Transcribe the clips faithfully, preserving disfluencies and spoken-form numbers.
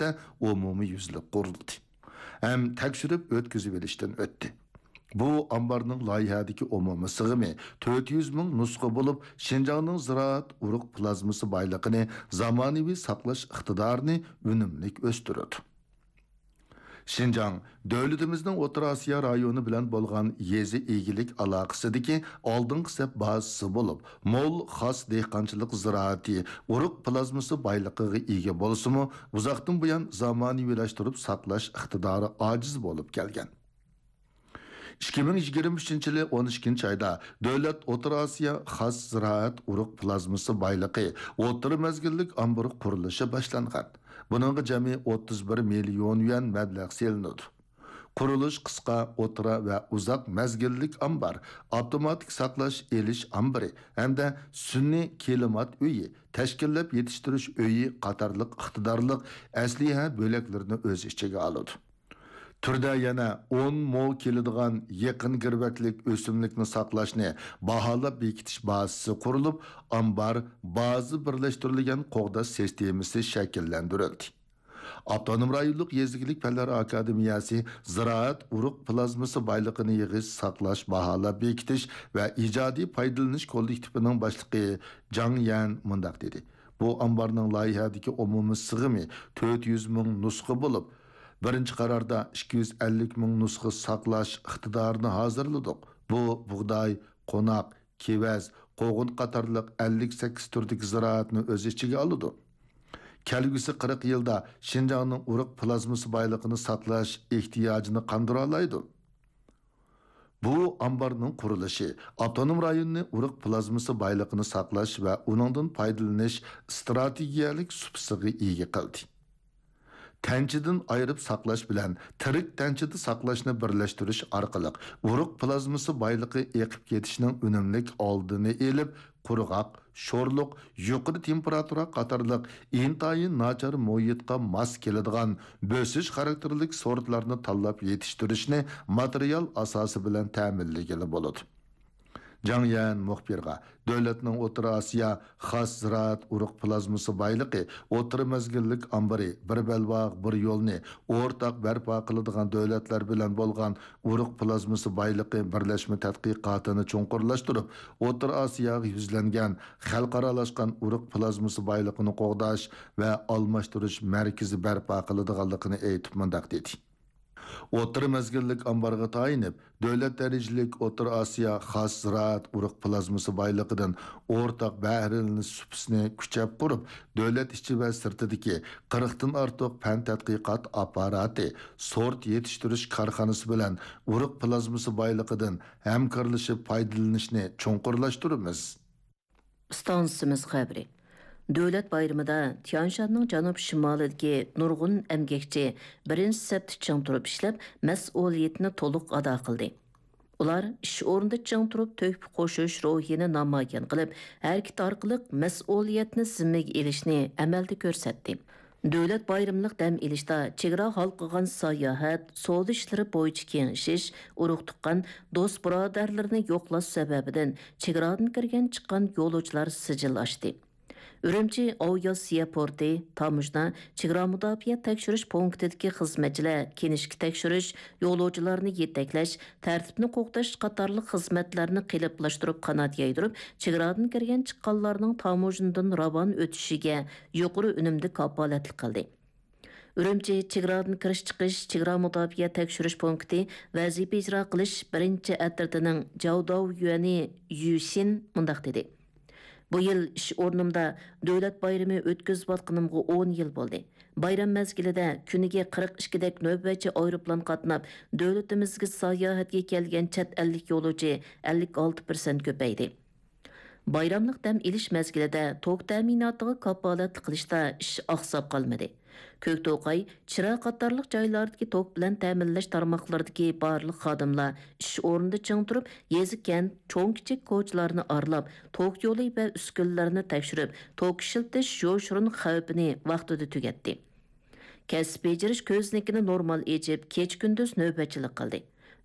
ئۈستىدە ئومۇميۈزلۈك قۇرۇلدى ھەم تەكشۈرۈپ ئۆتكۈزۈۋېلىشتىن ئۆتتى. بۇ ئامبارنىڭ لايىھەدىكى ئومۇمىي سىغىمى تۆت يۈز مىڭ نۇسخا بولۇپ، شىنجاڭنىڭ زىرائەت ئۇرۇق پلازمىسى بايلىقىنى، زامانىۋى ساقلاش ئىقتىدارىنى ئۈنۈملۈك ئۆستۈرىدۇ. شىنجاڭ دۆلىتىمىزنىڭ ئوتتۇرا ئاسىيا رايونى بىلەن بولغان يېزا ئىگىلىك ئالاقىسىدىكى ئالدىنقى سەپ بازىسى بولۇپ، مول خاس دېھقانچىلىق زىرائىتى ئۇرۇق پلازمىسى بايلىقىغا ئىگە بولسىمۇ، ئۇزاقتىن بۇيان زامانىۋىلاشتۇرۇپ ساقلاش ئىقتىدارى ئاجىز بولۇپ كەلگەن. ئىككى مىڭ يىگىرمە ئۈچىنچى يىلى ئون ئىككىنچى ئايدا دۆلەت ئوتتۇرا ئاسىيا خاس زىرائەت ئۇرۇق پلازمىسى بايلىقى ئوتتۇرا مەزگىللىك ئامبىرى قۇرۇلۇشى باشلانغان. بۇنىڭغا جەمئىي ئوتتۇز بىر مىليون يۈەن مەبلەغ سېلىنىدۇ. قۇرۇلۇش قىسقا، ئوتتۇرا ۋە ئۇزاق مەزگىللىك ئامبار، ئاپتوماتىك ساقلاش ئېلىش ئامبىرى ھەمدە سۈنئىي كىلىمات ئۆيى، تەشكىللەپ يېتىشتۈرۈش ئۆيى قاتارلىق ئىقتىدارلىق ئەسلىھە بۆلەكلىرىنى ئۆز ئىچىگە ئالىدۇ. تۈردە يەنە ئون مو كېلىدىغان يېقىن گىرۋەكلىك ئۆسۈملۈكنى ساقلاشنى باھالاپ بېكىتىش بازىسى قۇرۇلۇپ، ئامبار، بازا بىرلەشتۈرۈلگەن قوغداش سىستېمىسى شەكىللەندۈرۈلدى. ئاپتونوم رايونلۇق يېزا ئىگىلىك پەنلەر ئاكادېمىيەسى زىرائەت ئۇرۇق پلازمىسى بايلىقىنى يىغىش، ساقلاش، باھالاپ بېكىتىش ۋە ئىجادىي پايدىلىنىش كوللېكتىپىنىڭ باشلىقى جاڭ يەن مۇنداق دېدى: بۇ ئامبارنىڭ لايىھەدىكى ئومۇمىي سىغىمى تۆت يۈز مىڭ نۇسخا بولۇپ، بىرىنچى قاراردا ئىككى يۈز ئەللىك مىڭ نۇسخا ساقلاش ئىقتىدارىنى ھازىرلىدۇق. بۇ بۇغداي، قوناق، كېۋەز، قوغۇن قاتارلىق ئەللىك سەككىز تۈردىكى زىرائەتنى ئۆز ئىچىگە ئالىدۇ. كەلگۈسى قىرىق يىلدا شىنجاڭنىڭ ئۇرۇق پلازمىسى بايلىقىنى ساقلاش ئېھتىياجىنى قاندۇرالايدۇ. بۇ ئامبارنىڭ قۇرۇلۇشى ئاپتونوم رايوننى ئۇرۇق پلازمىسى بايلىقىنى ساقلاش ۋە ئۇنىڭدىن پايدىلىنىش ئىستراتېگىيەلىك سۇپىسىغا ئىگە قىلدى. تەنچىدىن ئايرىپ ساقلاش بىلەن تىرىك تەنچىدە ساقلاشنى بىرلەشتۈرۈش ئارقىلىق ئۇرۇق پلازمىسى بايلىقى ئېقىپ كېتىشنىڭ ئۈنۈملۈك ئالدىنى ئېلىپ، قۇرغاق، شورلۇق، يۇقىرى تېمپېراتۇرا قاتارلىق ئىنتايىن ناچار مۇھىتقا ماس كېلىدىغان بۆسۈش خاراكتېرلىك سورتلارنى تاللاپ يېتىشتۈرۈشنى ماتېرىيال ئاساسى بىلەن تەمىنلىگىلى بولىدۇ. جاڭ يەن مۇخبىرغا، دۆلەتنىڭ ئوتتۇرا ئاسىيا خاس زىرائەت ئۇرۇق پلازمىسى بايلىقى ئوتتۇرا مەزگىللىك ئامبىرى بىر بەلباغ، بىر يولنى ئورتاق بەرپا قىلىدىغان دۆلەتلەر بىلەن بولغان ئۇرۇق پلازمىسى بايلىقى بىرلەشمە تەتقىقاتىنى چوڭقۇرلاشتۇرۇپ، ئوتتۇرا ئاسىياغا يۈزلەنگەن خەلقئارالاشقان ئۇرۇق پلازمىسى بايلىقىنى قوغداش ۋە ئالماشتۇرۇش مەركىزى بەرپا قىلىدىغانلىقىنى ئېيتىپ مۇنداق دېدى: ئوتتۇرا مەزگىللىك ئامبارغا تايىنىپ، دۆلەت دەرىجىلىك ئوتتۇرا ئاسىيا خاس زىرائەت ئۇرۇق پلازمىسى بايلىقىدىن ئورتاق بەھرىلىنىش سۇپىسىنى كۈچەپ قۇرۇپ، دۆلەت ئىچى ۋە سىرتىدىكى قىرىقتىن ئارتۇق پەن تەتقىقات ئاپپاراتى، سورت يېتىشتۈرۈش كارخانىسى بىلەن ئۇرۇق پلازمىسى بايلىقىدىن ھەمكارلىشىپ پايدىلىنىشنى چوڭقۇرلاشتۇرىمىز. ئىستانسىمىز خەۋىرى. دۆلەت بايرىمىدا تيانشاننىڭ جەنۇب شىمالىدىكى نۇرغۇن ئەمگەكچى بىرىنچى سەپتە چىڭ تۇرۇپ ئىشلەپ، مەسئۇلىيىتىنى تولۇق ئادا قىلدى. ئۇلار ئىش ئورنىدا چىڭ تۇرۇپ، تۆھپە قوشۇش روھىنى نامايان قىلىپ، ھەرىكىتى ئارقىلىق مەسئۇلىيەتنى زىممىگە ئېلىشنى ئەمەلدە كۆرسەتتى. دۆلەت بايرىملىق دەم ئېلىشتا چېگرا ھالقىغان ساياھەت، سودا ئىشلىرى بويىچە كېڭىشىش، ئۇرۇق-تۇغقان، دوست-بۇرادەرلىرىنى يوقلاش سەۋەبىدىن چېگرادىن كىرگەن چىققان يولۇچىلار سىجىل ئاچتى. ئۈرۈمچى ئاۋىئاتسىيە پورتى، تاموژنا، چېگرا مۇداپىئە تەكشۈرۈش پونكىتىدىكى خىزمەتچىلەر كىنىشكا تەكشۈرۈش، يولۇچىلارنى يېتەكلەش، تەرتىپنى قوغداش قاتارلىق خىزمەتلەرنى قېلىپلاشتۇرۇپ قانات يايدۇرۇپ، چېگرادىن كىرگەن چىققانلارنىڭ تاموژنىدىن راۋان ئۆتۈشىگە يۇقىرى ئۈنۈمدە كاپالەتلىك قىلدى. ئۈرۈمچى چېگرادىن كىرىش-چىقىش چېگرا مۇداپىئە تەكشۈرۈش پونكىتى ۋەزىپە ئىجرا قىلىش بىرىنچى ئەترىتىنىڭ جاۋداۋ يۈەنى يۈشىن مۇنداق دېدى: بۇ يىل ئىش ئورنۇمدا دۆلەت بايرىمى ئۆتكۈزۈۋاتقىنىمغا ئون يىل بولدى. بايرام مەزگىلىدە كۈنىگە قىرىق ئىككىدەك نۆۋەتچى ئايروپىلان قاتناپ، دۆلىتىمىزگە ساياھەتكە كەلگەن چەت ئەللىك يولۇچى ئەللىك ئالتە پىرسەنت كۆپەيدى. بايراملىق دەم ئېلىش مەزگىلىدە توك تەمىناتىغا كاپالەتلىك قىلىشتا ئىش ئاقساپ قالمىدى. كۆكتوقاي، چىرا قاتارلىق جايلاردىكى توك بىلەن تەمىنلەش تارماقلىرىدىكى بارلىق خادىملار ئىش ئورنىدا چىڭ تۇرۇپ، يېزا، كەنت، چوڭ، كىچىك كوچىلارنى ئارىلاپ، توك يولى ۋە ئۈسكۈنىلەرنى تەكشۈرۈپ، توك ئىشلىتىش يوشۇرۇن خەۋپىنى ۋاقتىدا تۈگەتتى. كەسىپ بېجىرىش كۆزنىكىنى نورمال ئېچىپ، كېچە-كۈندۈز نۆۋەتچىلىك قىلدى.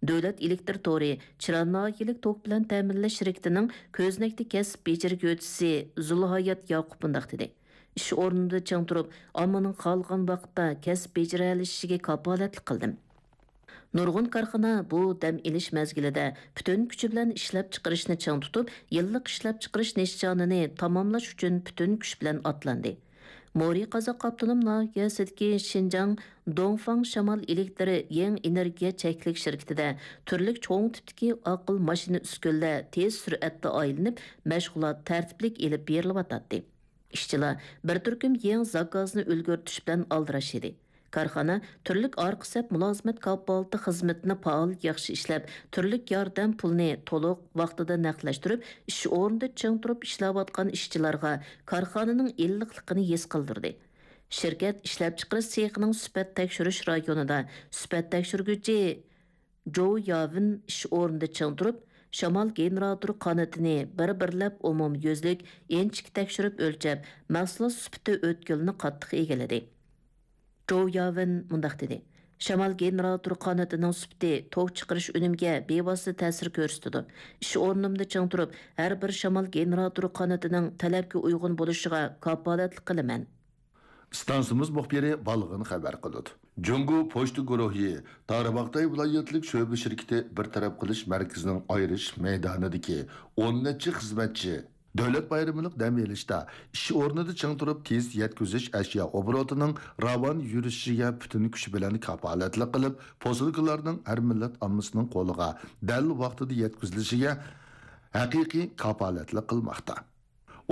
دۆلەت ئېلېكتىر تورى چىرا ناھىيەلىك توك بىلەن تەمىنلەش شىركىتىنىڭ كۆزنەكتە كەسىپ بېجىرگۈچىسى زۇلھايات ياقۇپ مۇنداق دېدى: ئىش ئورنىدا چىڭ تۇرۇپ، ئاممىنىڭ خالىغان ۋاقىتتا كەسىپ بېجىرەلىشىشىگە كاپالەتلىك قىلدىم. نۇرغۇن كارخانا بۇ دەم ئېلىش مەزگىلىدە پۈتۈن كۈچى بىلەن ئىشلەپچىقىرىشنى چىڭ تۇتۇپ، يىللىق ئىشلەپچىقىرىش نىشانىنى تاماملاش ئۈچۈن پۈتۈن كۈچ بىلەن ئاتلاندى. مورى قازاق ئاپتونوم ناھىيەسىدىكى شىنجاڭ دۇڭفاڭ شامال ئېلېكتر يېڭى ئېنېرگىيە چەكلىك شىركىتىدە تۈرلۈك چوڭ تىپتىكى ئاقىل ماشىنا ئۈسكۈنىلەر تېز سۈرئەتتە ئايلىنىپ، مەشغۇلات تەرتىپلىك ئېلىپ بېرىلىۋاتاتتى. ئىشچىلار بىر تۈركۈم يېڭى زاكازنى ئۈلگۈرتۈش بىلەن ئالدىراش ئىدى. كارخانا تۈرلۈك ئارقا سەپ مۇلازىمەت كاپالىتى خىزمىتىنى پائال ياخشى ئىشلەپ، تۈرلۈك ياردەم پۇلىنى تولۇق ۋاقتىدا نەقلەشتۈرۈپ، ئىش ئورنىدا چىڭ تۇرۇپ ئىشلەۋاتقان ئىشچىلارغا كارخانىنىڭ ئىللىقلىقىنى ھېس قىلدۇردى. شىركەت ئىشلەپچىقىرىش سېخىنىڭ سۈپەت تەكشۈرۈش رايونىدا سۈپەت تەكشۈرگۈچى جوۋ ياۋېن ئىش ئورنىدا چىڭ تۇرۇپ، شامال گېنېراتور قانىتىنى بىر-بىرلەپ ئومۇميۈزلۈك ئىنچىكە تەكشۈرۈپ ئۆلچەپ، مەھسۇلات سۈپىتى ئۆتكىلىنى قاتتىق ئىگىلىدى. جوۋ ياۋېن مۇنداق دېدى: شامال گېنېراتور قانىتىنىڭ سۈپىتى توك چىقىرىش ئۈنۈمىگە بىۋاسىتە تەسىر كۆرسىتىدۇ. ئىش ئورنۇمدا چىڭ تۇرۇپ، ھەر بىر شامال گېنېراتور قانىتىنىڭ تەلەپكە ئۇيغۇن بولۇشىغا كاپالەتلىك قىلىمەن. ئىستانسىمىز مۇخبىرى بالغىن خەۋەر قىلىدۇ. جۇڭگو پوچتا گۇرۇھى تارباغاتاي ۋىلايەتلىك شۆبە شىركىتى بىر تەرەپ قىلىش مەركىزىنىڭ ئايرىش مەيدانىدىكى ئون نەچچە خىزمەتچى دۆلەت بايرىمىلىق دەم ئېلىشتا ئىش ئورنىدا چىڭ تۇرۇپ، تېز يەتكۈزۈش ئەشيا ئوبوروتىنىڭ راۋان يۈرۈشۈشىگە پۈتۈن كۈچى بىلەن كاپالەتلىك قىلىپ، پوسۇلكىلارنىڭ ھەر مىللەت ئاممىسىنىڭ قولىغا دەل ۋاقتىدا يەتكۈزۈلۈشىگە ھەقىقىي كاپالەتلىك قىلماقتا.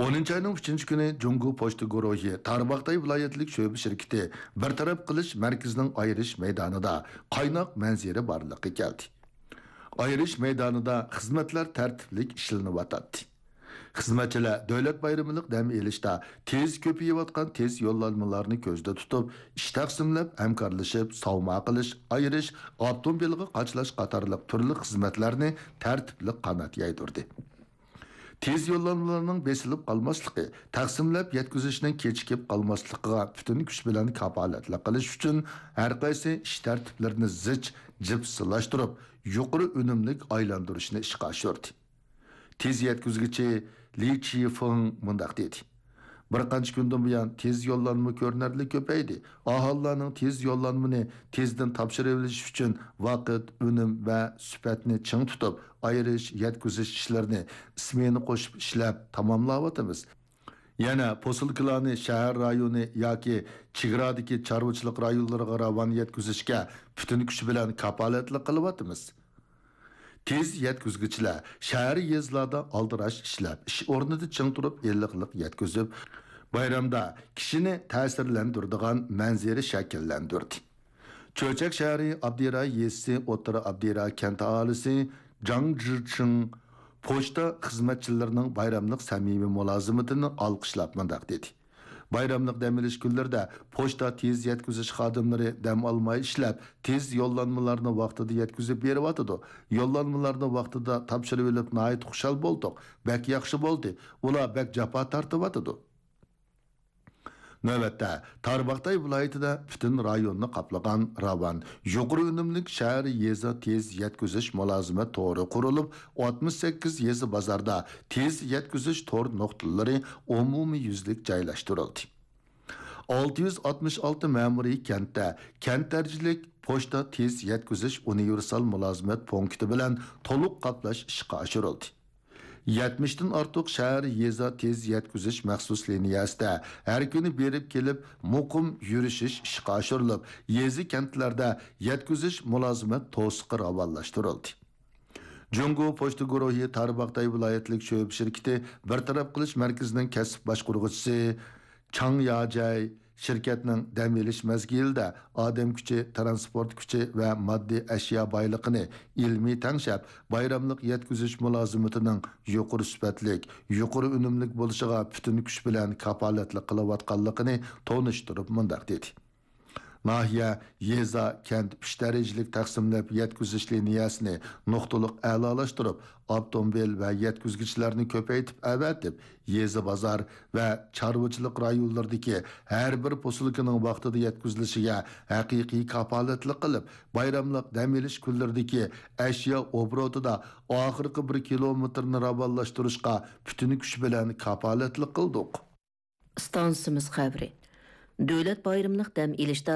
ئونىنچى ئاينىڭ ئۈچىنچى كۈنى جۇڭگو پوچتا گۇرۇھى تارباغاتاي ۋىلايەتلىك شۆبە شىركىتى بىر تەرەپ قىلىش مەركىزىنىڭ ئايرىش مەيدانىدا قايناق مەنزىرە بارلىققا كەلدى. ئايرىش مەيدانىدا خىزمەتلەر تەرتىپلىك ئىشلىنىۋاتاتتى. خىزمەتچىلەر دۆلەت بايرىمىلىق دەم ئېلىشتا تېز كۆپىيىۋاتقان تېز يوللانمىلارنى كۆزدە تۇتۇپ، ئىش تەقسىملەپ، ھەمكارلىشىپ، ساۋما قىلىش، ئايرىش، ئاپتوموبىلغا قاچىلاش قاتارلىق تۈرلۈك خىزمەتلەرنى تەرتىپلىك قانات يايدۇردى. تېز يوللانمىلارنىڭ بېسىلىپ قالماسلىقى، تەقسىملەپ يەتكۈزۈشنىڭ كېچىكىپ قالماسلىقىغا پۈتۈن كۈچ بىلەن كاپالەتلىك قىلىش ئۈچۈن، ھەرقايسى ئىش تەرتىپلىرىنى زىچ جىپسىلاشتۇرۇپ، يۇقىرى ئۈنۈملۈك ئايلاندۇرۇشنى ئىشقا ئاشۇردى. تېز يەتكۈزگۈچى لى چىفېڭ مۇنداق دېدى: بىر قانچە كۈندىن بۇيان تېز يوللانما كۆرۈنەرلىك كۆپەيدى. ئاھالىلەرنىڭ تېز يوللانمىنى تېزدىن تاپشۇرۇۋېلىش ئۈچۈن ۋاقىت، ئۈنۈم ۋە سۈپەتنى چىڭ تۇتۇپ، ئايرىش، يەتكۈزۈش ئىشلىرىنى ئىسمېنا قوشۇپ ئىشلەپ تاماملاۋاتىمىز. يەنە پوسۇلكىلارنى شەھەر رايونى ياكى چېگرادىكى چارۋىچىلىق رايونلىرىغا راۋان يەتكۈزۈشكە پۈتۈن كۈچ بىلەن كاپالەتلىك قىلىۋاتىمىز. تېز يەتكۈزگۈچىلەر شەھەر، يېزىلاردا ئالدىراش ئىشلەپ، ئىش ئورنىدا چىڭ تۇرۇپ، ئىللىقلىق يەتكۈزۈپ، بايرامدا كىشىنى تەسىرلەندۈرىدىغان مەنزىرە شەكىللەندۈردى. چۆچەك شەھىرى ئابدىراي يېزىسى ئوتتۇرا ئابدىراي كەنت ئاھالىسى جاڭ جىچىڭ پوچتا خىزمەتچىلىرىنىڭ بايراملىق سەمىمىي مۇلازىمىتىنى ئالقىشلاپ مۇنداق دېدى: بايراملىق دەم ئېلىش كۈنلىرىدە پوچتا تېز يەتكۈزۈش خادىملىرى دەم ئالماي ئىشلەپ، تېز يوللانمىلارنى ۋاقتىدا يەتكۈزۈپ بېرىۋاتىدۇ. يوللانمىلارنى ۋاقتىدا تاپشۇرۇۋېلىپ ناھايىتى خۇشال بولدۇق. بەك ياخشى بولدى. ئۇلار بەك جاپا تارتىۋاتىدۇ. نۆۋەتتە، تارباغاتاي ۋىلايىتىدە پۈتۈن رايوننى قاپلىغان راۋان، يۇقىرى ئۈنۈملۈك شەھەر، يېزا تېز يەتكۈزۈش مۇلازىمەت تورى قۇرۇلۇپ، ئاتمىش سەككىز يېزا بازاردا تېز يەتكۈزۈش تور نۇقتىلىرى ئومۇميۈزلۈك جايلاشتۇرۇلدى. ئالتە يۈز ئاتمىش ئالتە مەمۇرىي كەنتتە كەنت دەرىجىلىك پوچتا تېز يەتكۈزۈش ئۇنىۋېرسال مۇلازىمەت پونكىتى بىلەن تولۇق قاپلاش ئىشقا ئاشۇرۇلدى. يەتمىشتىن ئارتۇق شەھەر، يېزا تېز يەتكۈزۈش مەخسۇس لىنىيەسىدە ھەر كۈنى بېرىپ كېلىپ مۇقىم يۈرۈشۈش ئىشقا ئاشۇرۇلۇپ، يېزا، كەنتلەردە يەتكۈزۈش مۇلازىمەت توسۇقى راۋانلاشتۇرۇلدى. جۇڭگو پوچتا گۇرۇھى تارباغاتاي ۋىلايەتلىك شۆبە شىركىتى بىر تەرەپ قىلىش مەركىزىنىڭ كەسىپ باشقۇرغۇچىسى چاڭ ياجەي شىركەتنىڭ دەم ئېلىش مەزگىلىدە ئادەم كۈچى، تىرانسپورت كۈچى ۋە ماددىي ئەشيا بايلىقىنى ئىلمىي تەڭشەپ، بايراملىق يەتكۈزۈش مۇلازىمىتىنىڭ يۇقىرى سۈپەتلىك، يۇقىرى ئۈنۈملۈك بولۇشىغا پۈتۈن كۈچ بىلەن كاپالەتلىك قىلىۋاتقانلىقىنى تونۇشتۇرۇپ مۇنداق دېدى: ناھىيە، يېزا، كەنت ئۈچ دەرىجىلىك تەقسىملەپ يەتكۈزۈش لىنىيەسىنى نۇقتىلىق ئەلالاشتۇرۇپ، ئاپتوموبىل ۋە يەتكۈزگۈچىلەرنى كۆپەيتىپ ئەۋەتىپ، يېزا، بازار ۋە چارۋىچىلىق رايونلىرىدىكى ھەر بىر پوسۇلكىنىڭ ۋاقتىدا يەتكۈزۈلۈشىگە ھەقىقىي كاپالەتلىك قىلىپ، بايراملىق دەم ئېلىش كۈنلىرىدىكى ئەشيا ئوبوروتىدا ئاخىرقى بىر كىلومېتىرنى راۋانلاشتۇرۇشقا پۈتۈن كۈچ بىلەن كاپالەتلىك قىلدۇق. ئىستانسىمىز خەۋىرى. دۆلەت بايرىملىق دەم ئېلىشتا